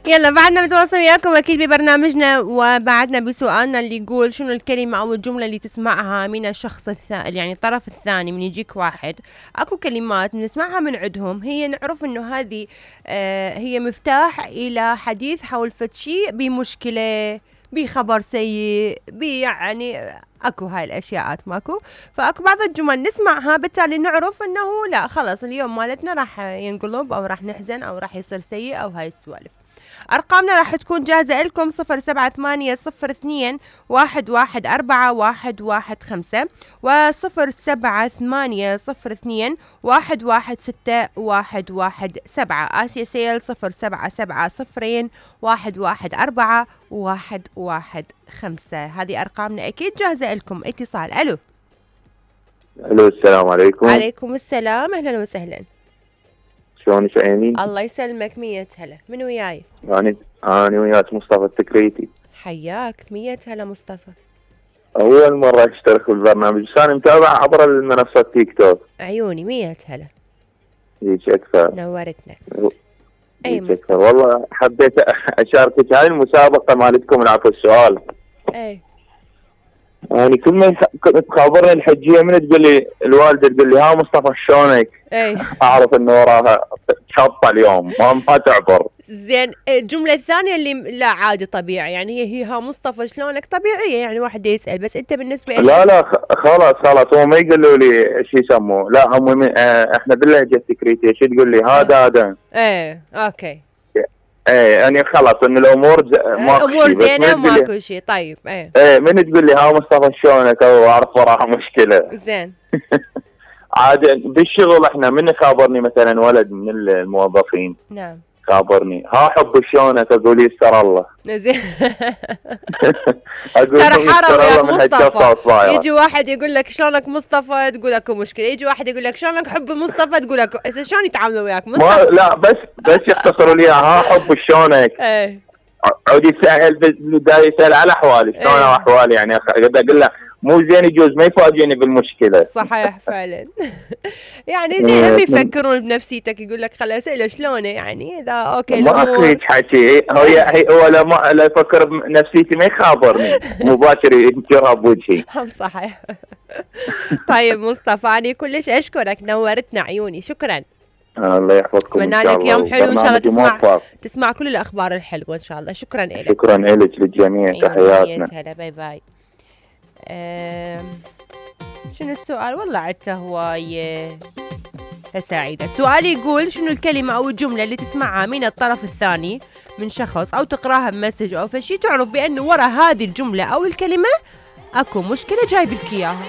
يلا بعدنا بنتواصل وياكم اكيد ببرنامجنا، وبعدنا بسؤالنا اللي يقول شنو الكلمة او الجملة اللي تسمعها من الشخص الثاني، يعني الطرف الثاني من يجيك واحد. اكو كلمات نسمعها من عندهم هي نعرف انه هذه هي مفتاح الى حديث حول فد شيء بمشكلة بخبر سيء يعني اكو هاي الاشياءات ماكو. فاكو بعض الجمل نسمعها بالتالي نعرف انه لا خلاص اليوم مالتنا راح ينقلب او راح نحزن او راح يصير سيء او هاي السوالف. أرقامنا راح تكون جاهزة لكم 07802114115 و07802116117. آسيا سيل 07701141115. هذه أرقامنا أكيد جاهزة لكم. اتصال. ألو السلام عليكم. عليكم السلام، أهلا وسهلا. شلونك عيني؟ الله يسلمك. 100 هلا. من وياي؟ أنا وياك مصطفى التكريتي. حياك. 100 هلا مصطفى. أول مرة أشترك بالبرنامج، بس أنا متابع عبر المنصة تيك توك. عيوني. 100 هلا. ليش أكثر. نورتنا. أي مصطفى. والله حبيت أشاركك هاي المسابقة مالتكم نعرف السؤال. أي. يعني كل ما تخابرني الحجية من تقول لي الوالدة تقول لي ها مصطفى شلونك؟ اي اعرف انه وراها شطة اليوم ما تعبر. زين. الجملة الثانية اللي لا عادي طبيعي، يعني هي ها مصطفى شلونك طبيعية، يعني واحد يسأل، بس انت بالنسبة لي لا خلاص هو ما يقولوا لي شو يسموه، لا هم احنا باللهجة التكريتية شو تقول لي هذا. ايه اوكي. ايه يعني خلاص ان الامور امور زينه وماكو شيء. طيب ايه من تقول لي ها مصطفى شلونك او اعرف وراها مشكله. زين. عاد بالشغل احنا من خابرني مثلا ولد من الموظفين. نعم. خابرني ها حب شلونك اقول يستر الله. زين. اقول ترى حرام يا مصطفى. يجي واحد واحد يقول لك شلونك مصطفى تقول اكو مشكله، يجي واحد يقول لك شلونك حب مصطفى تقول اكو. شلون يتعاملوا وياك مصطفى؟ لا بس يختصروا لي ها حب شلونك. ايه عود يسال على احوالي شلون احوالي، يعني اقول له مو زين يجوز ما يفاجئني بالمشكله. صحيح فعلا. يعني زين يفكرون بنفسيتك، يقول لك خل اساله شلونه، يعني اذا اوكي ما اخرج حكي هو لا يفكر بنفسيتي ما يخابرني مباشر ينكرها بوجهي. صحيح. طيب مصطفى انا كلش اشكرك، نورتنا عيوني. شكرا. الله يحفظكم. اتمنى لك يوم حلو ان شاء الله، تسمع كل الاخبار الحلوه ان شاء الله. شكرا لك. شكرا لك للجميع. تحياتنا. هلا باي باي. شنو السؤال؟ والله عدته هواية سعيدة. السؤال يقول شنو الكلمة أو الجملة اللي تسمعها من الطرف الثاني من شخص أو تقراها بمسج أو فشي تعرف بأنه ورا هذه الجملة أو الكلمة أكو مشكلة جايب لك إياها.